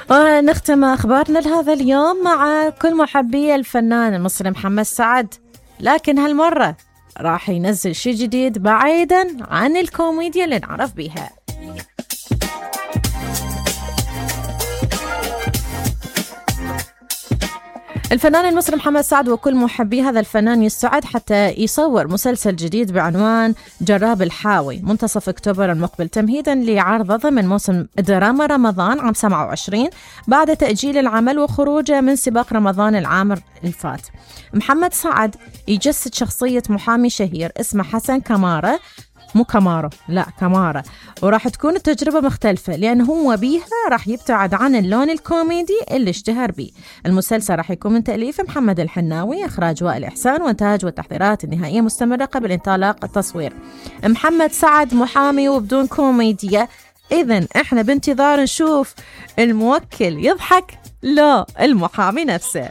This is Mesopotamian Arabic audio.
ونختم أخبارنا لهذا اليوم مع كل محبي الفنان المصري محمد سعد، لكن هالمرة راح ينزل شيء جديد بعيدا عن الكوميديا اللي نعرف بيها. الفنان المصري محمد سعد وكل محبي هذا الفنان يستعد حتى يصور مسلسل جديد بعنوان جراب الحاوي منتصف أكتوبر المقبل، تمهيدا لعرضه ضمن موسم دراما رمضان عام 27 بعد تأجيل العمل وخروجه من سباق رمضان العام الفات. محمد سعد يجسد شخصية محامي شهير اسمه حسن كمارة، مو كمارو، لا كمارة، وراح تكون التجربة مختلفة لأن هو بيها راح يبتعد عن اللون الكوميدي اللي اشتهر به. المسلسل راح يكون من تأليف محمد الحناوي، إخراج وائل إحسان، وإنتاج والتحضيرات النهائية مستمرة قبل انطلاق التصوير. محمد سعد محامي وبدون كوميديا، إذن إحنا بانتظار نشوف الموكل يضحك لا المحامي نفسه.